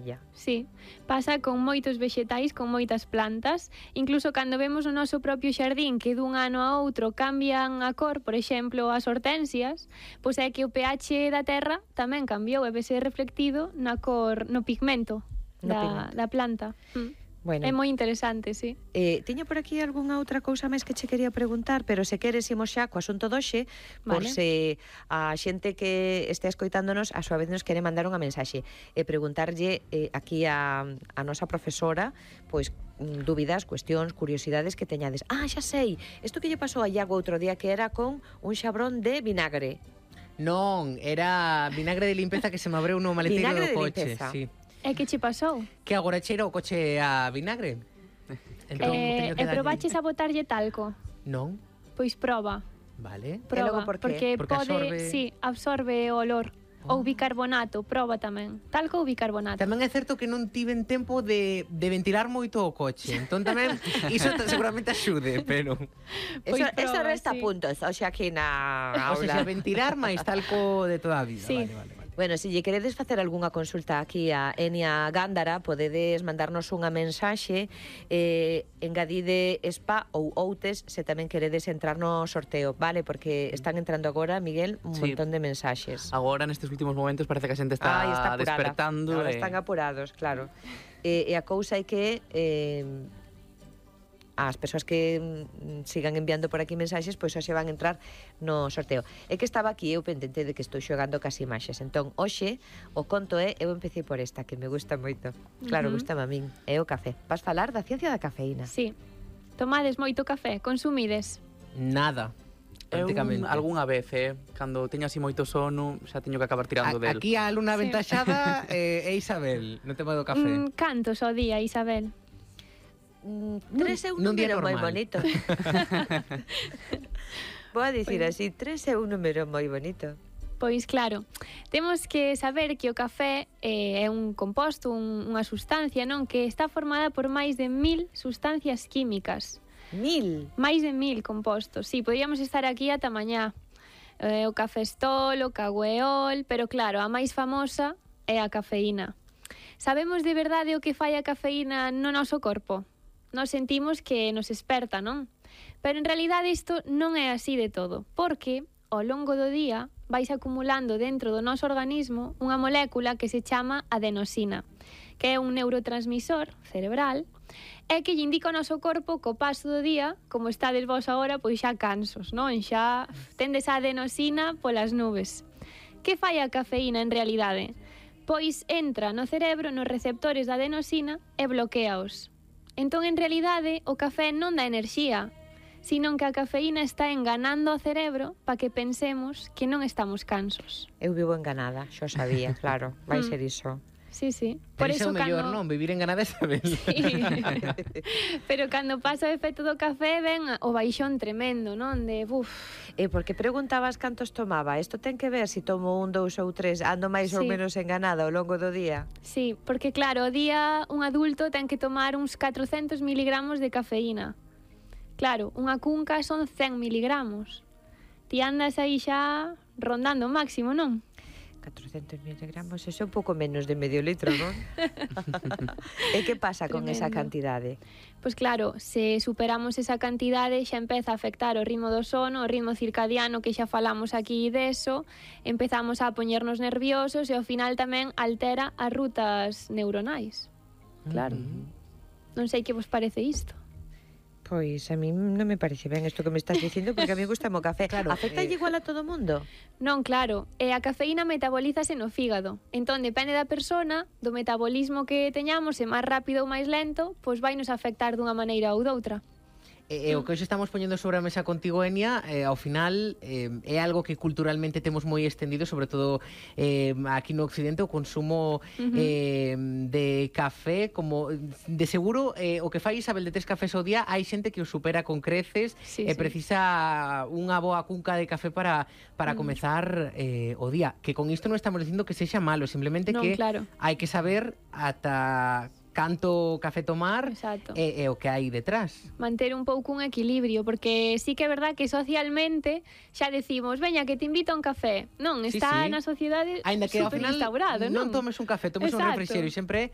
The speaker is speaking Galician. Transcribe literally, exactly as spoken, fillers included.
maravilla. Sí, pasa con moitos vexetais, con moitas plantas, incluso cando vemos o noso propio xardín que dun ano a outro cambian a cor, por exemplo, as hortensias, pois é que o pH da terra tamén cambiou e vese reflectido na cor, no pigmento, no da, pigmento. da planta. Mm. Bueno, é moi interesante, sí. Eh, tiña por aquí algunha outra cousa máis que che quería preguntar, pero se queres imos xa co asunto doxe, por Vale. se a xente que este escoitándonos a súa vez nos quere mandar unha mensaxe e preguntarlle eh, aquí a, a nosa profesora, pois dúbidas, cuestións, curiosidades que teñades. Ah, xa sei, isto que lle pasou a Iago outro día que era con un xabrón de vinagre. Non, era vinagre de limpeza que se me abreu no maleteiro Vinagre do de coche. limpeza. Sí. E que che pasou? Que agora cheira o coche a vinagre. Entón, Eh, teño que e darlle- probaches a botarlle talco? Non, Pois proba, vale. proba, logo por qué? porque, Porque pode, absorbe- sí, absorbe o olor. Ou bicarbonato, proba tamén. Talco ou bicarbonato. Tamén é certo que non tiven tempo de, de ventilar moito o coche. Entón tamén, iso t- seguramente axude, pero... Pois Eso, eso proba, resta sí. puntos, hoxe aquí na O sea, aula. ventilar máis talco de toda a vida. Sí. Vale, vale, vale. Bueno, se lle queredes facer algunha consulta aquí a Enia Gándara, podedes mandarnos unha mensaxe, eh, engadide spa ou outes se tamén queredes entrar no sorteo, vale? Porque están entrando agora, Miguel, un Sí. montón de mensaxes. Agora, nestes últimos momentos, parece que a xente está, Ai, está apurada. despertando. Ahora e- están apurados, claro. E, e a cousa é que eh, as persoas que mm, sigan enviando por aquí mensaxes, pois hoxe van entrar no sorteo. É que estaba aquí eu pendente de que estou xogando cas imaxes. Entón, hoxe, o conto é, eu empecé por esta, que me gusta moito. Claro, Ujú. gustame a min. É o café. Vas falar da ciencia da cafeína. Sí. Tomades moito café, consumides. Nada, Eu prácticamente. algunha vez, eh, cando teño así moito sono, xa teño que acabar tirando A- del. Aquí a alumna Sí. aventaxada eh, é Isabel, no tema do café. Mm, cantos ao día, Isabel? Mm, tres é un nun día número moi normal. bonito. Vou a dicir así, tres é un número moi bonito. Pois claro, temos que saber que o café eh, é un composto, un, unha sustancia, non? Que está formada por máis de mil sustancias químicas. Mil. Máis de mil compostos. Sí, podíamos estar aquí ata mañá. Eh, o cafestol, o cagüeol, pero claro, a máis famosa é a cafeína. Sabemos de verdade o que fai a cafeína no noso corpo? Nos sentimos que nos esperta, non? Pero en realidade isto non é así de todo, porque ao longo do día vais acumulando dentro do noso organismo unha molécula que se chama adenosina, que é un neurotransmisor cerebral e que lle indica ao noso corpo co paso do día, como estades vos agora, pois xa cansos, non? Xa tendes a adenosina polas nubes. Que fai a cafeína en realidade? Pois entra no cerebro, nos receptores da adenosina e bloqueaos. Entón, en realidade, o café non dá enerxía, sino que a cafeína está enganando ao cerebro para que pensemos que non estamos cansos. Eu vivo enganada, xo sabía, claro, vai ser iso. Sí, sí. Por iso é o mellor, non? Vivir enganada é saber. Sí. Pero cando pasa o efecto do café ven o baixón tremendo, non? De, buf. E porque preguntabas cantos tomaba? Isto ten que ver se si tomo un, dous ou tres, ando máis ou Sí. menos enganada ao longo do día? Sí, porque claro, o día un adulto ten que tomar uns catrocentos miligramos de cafeína. Claro, unha cunca son cen miligramos. Ti andas aí xa rondando o máximo, non? catrocentos miligramos, eso é un pouco menos de medio litro, non? E que pasa con esa Tremendo. cantidade? Pois claro, se superamos esa cantidade xa empeza a afectar o ritmo do sono, o ritmo circadiano que xa falamos aquí deso, empezamos a poñernos nerviosos e ao final tamén altera as rutas neuronais. Claro. Non sei que vos parece isto. Pois a mí non me parece ben isto que me estás dicindo, porque a mí gusta o café. Claro, Afecta eh, igual a todo o mundo? Non, claro, e a cafeína metabolízase no fígado. Entón, depende da persona, do metabolismo que teñamos, e máis rápido ou máis lento, pois vai nos afectar dunha maneira ou doutra. E, e o que hoxe estamos poñendo sobre a mesa contigo, Enia, eh, ao final eh, é algo que culturalmente temos moi extendido, sobre todo eh, aquí no Occidente, o consumo Uh-huh. eh, de café, como de seguro eh, o que fai Isabel de tres cafés ao día, hai xente que o supera con creces Sí, e sí. precisa unha boa cunca de café para, para Mm. comezar eh, o día. Que con isto non estamos dicindo que sexa malo, simplemente Non, que claro. hai que saber ata canto café tomar Exacto. e, e o que hai detrás. Manter un pouco un equilibrio, porque sí que é verdad que socialmente xa decimos, veña, que te invito a un café. Non, Sí, está sí. na sociedade Ainda que ao super final instaurado, non? non tomes un café, tomes un Exacto. refrixerio, sempre